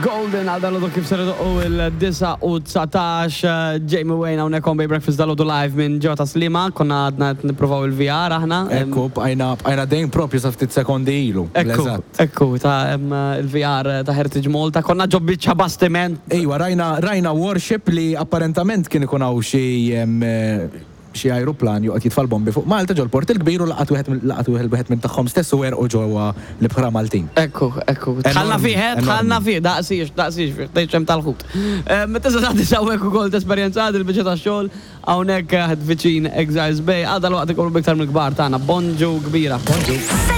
Golden għal dal kif ser idoqqu il-9 u 19 Jamie Wayne hawnhekk on Bay Breakfast dal live minn ġewwa ta' Sliema konna għadna qed nippruvaw il-VR aħna. Ekku, bqajna bqajna dejjem propju sa ftit sekondi ilu. Ekku, ekku ta' il-VR ta' Heritage Malta konna ġo biċċa bastiment. Ejwa, rajna rajna warship li apparentament kien ikun hawn xi xi ajruplan joqgħod jitfa' l-bombi fuq Malta ġol-Port il-Kbir u laqat wieħed laqat wieħed minn tagħhom stess u għerqu ġewwa l-ibħra Maltin. Ekku, ekku. Dħalna fih, eh, dħalna fih, daqsiex, daqsiex fih, tgħidx hemm tal-ħut. Tista' tagħti hawnhekk ukoll tesperjenza il-biċċa tax-xogħol hawnhekk viċin Exiles Bay. Għal dalwaqt ikunu b'iktar mill-kbar tagħna. Bonġu kbira. Bonġu.